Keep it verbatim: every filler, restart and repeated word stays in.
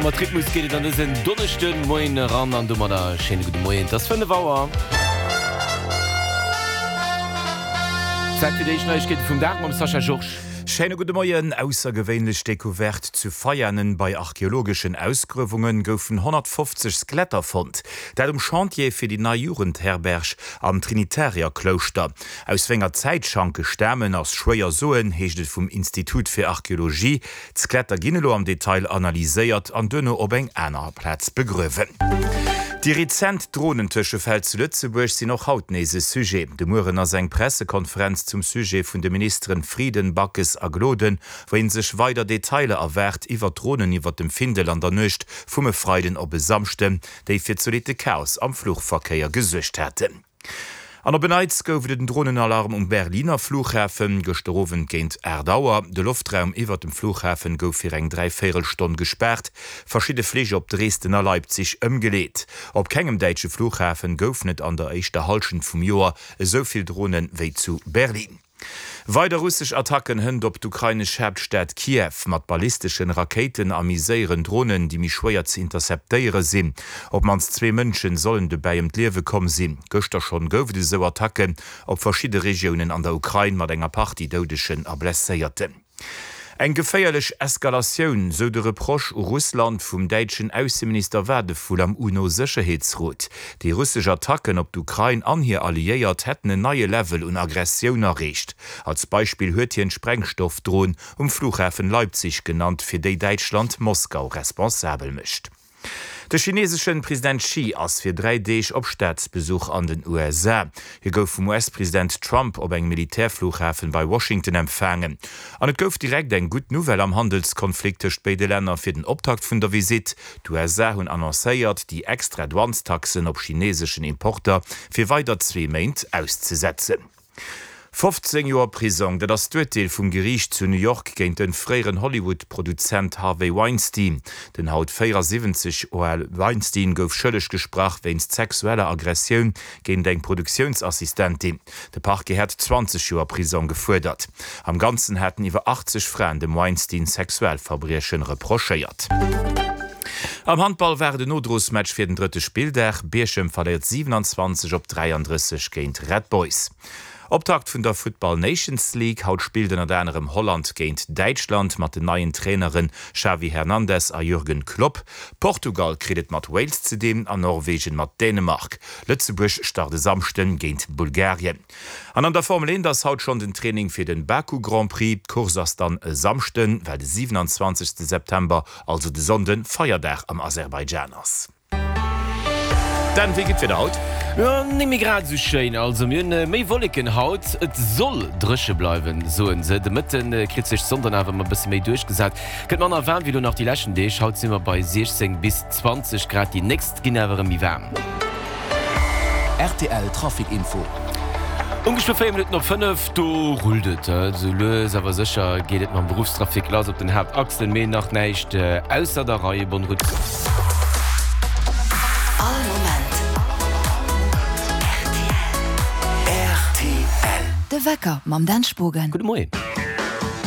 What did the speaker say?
Mat Rhythmus geet et an dësen Donneschden Moien eran an domadder e schéine gudde Moien. Et ass fënnef Auer. Zäit fir déi éischt Neiegkeete vum Dag mam Sascha Georges. Schéine gudde Moien. Aussergewéinlech Decouverte zu Veianen, Bei archeologeschen Ausgruewunge goufen honnertfofzeg Skeletter fonnt. Dat um Chantier fir déi nei Jugendherberg am Trinitarierklouschter. Aus wénger Zäit d'Schanke stamen, ass schwéier soen, heescht et vum Institut fir Archeologie. D'Skeletter ginn elo am Detail analyséiert an duerno op eng aner Plaz begruewen. Déi rezent Dronentëschefäll zu Lëtzebuerg sinn och haut nees e Sujet. De Mueren ass eng Pressekonferenz zum Sujet vun de Ministeren Frieden, Backes a Gloden, wou ee sech weider Detailer erwaart iwwer d'Dronen iwwer dem Findel an der Nuecht vum e Freiden op e Samschden, déi fir zolitte Chaos am Fluchverkéier gesuergt haten. An op en Neits gouf et en Dronenalarm um Berliner Flughafen, gëschter Owend géint aacht Auer. De Loftraum iwwert dem Flughafen gouf fir eng dräivéierel Stonn gespaart, verschidde Flich op Dresden a Leipzig ëmgeleet. Op kengem däitsche Flughafen goufen et an der éischter Hallschent vum Joer esou vill Dronen wéi zu Berlin. Weider russesch Attacken hënt op d'ukrainesch Haaptstad Kiew, mat ballisteschen Rakéiten a méi séieren Dronen, déi méi schwéier ze interceptéiere sinn. Op d'mannst zwee Mënsche sollen dobäi ëm d'Liewe komm sinn. Gëschter schonn gouf et esou Attacken op verschidde Regiounen an der Ukrain mat enger Partie Doudegen a Blesséierten. Eng geféierlech Eskalatioun, sou de Reproche u Russland vum däitschen Ausseminister Wadephul am UNO-Sécherheetsrot. Déi russesch Attacken op d'Ukrain an hir Alliéiert hätten en neie Level un Aggressioun erreecht. Als Beispill huet hien d'Sprengstoffdron um Flughafen Leipzig genannt, fir déi Däitschland Moskau responsabel mécht. De chineeseschen President Xi ass fir dräi Deeg op Staatsbesuch an den U S A. Hie gouf vum U S-President Trump op engem Militärflughafen bei Washington empfaangen. An et gouf direkt eng gutt Nouvelle am Handelskonflikt tëscht béide Länner fir den Optakt vun der Visitt. D'U S A hunn annoncéiert, déi extra Douanestaxen op chineeseschen Importer fir weider zwee Méint auszesetzen. fofzéng Joer Prisong, dat ass d'Urteel vum Geriicht zu New York géint de fréieren Hollywood-Produzent Harvey Weinstein. Den haut véierasiwwenzeg Joer ale Weinstein gouf schëlleg gesprach wéinst sexueller Aggressioun géint eng Produktiounsassistentin. De Parquet hat zwanzeg Joer Prisong gefuerdert. Am Ganzen haten iwwer achtzeg Fraen dem Weinstein Sexualverbriechen reprochéiert. Am Handball war et en Nodrosmatch fir den drëtte Spilldag. Bierchem verléiert siewenundzwanzeg op dräiandrësseg géint Red Boys. Optakt vun der Football Nations League. Haut spillt ënnert anerem Holland géint Däitschland mat den neien Traineren Xavi Hernandez a Jürgen Klopp. Portugal kritt et mat Wales ze dinn an Norwegen mat Dänemark. Lëtzebuerg start e Samschden géint Bulgarien. An an der Formel eent ass haut schonn den Training fir den Baku Grand Prix. D'Course ass dann e Samschden, well de siewenundzwanzegste September, also de Sonnden, Feierdag am Aserbaidschan ass. Dan, wéi geet d'Wieder haut? Jo, net méi grad esou schéin. Also mir hunn méi Wolleken haut, et soll dréche bleiwen, soen se. De Mëtte kritt sech d'Sonn dann awer emol e bësse méi duerchgesat. Gëtt manner waarm wéi elo nach déi leschten Deeg. Haut si mer bei siechzéng bis zwanzeg Grad, déi nächst ginn awer erëm méi waarm. R T L Trafic Info. Ongeféier véier Minutten op fënnef, do rullt et. Esou lues awer sécher geet et mam Beruffstrafic lass op den Haaptachsen, mee nach näischt ausser der Rei. Bonne route. All Moment R T L. De Wecker mam Dan Spogen. Gudde Moien.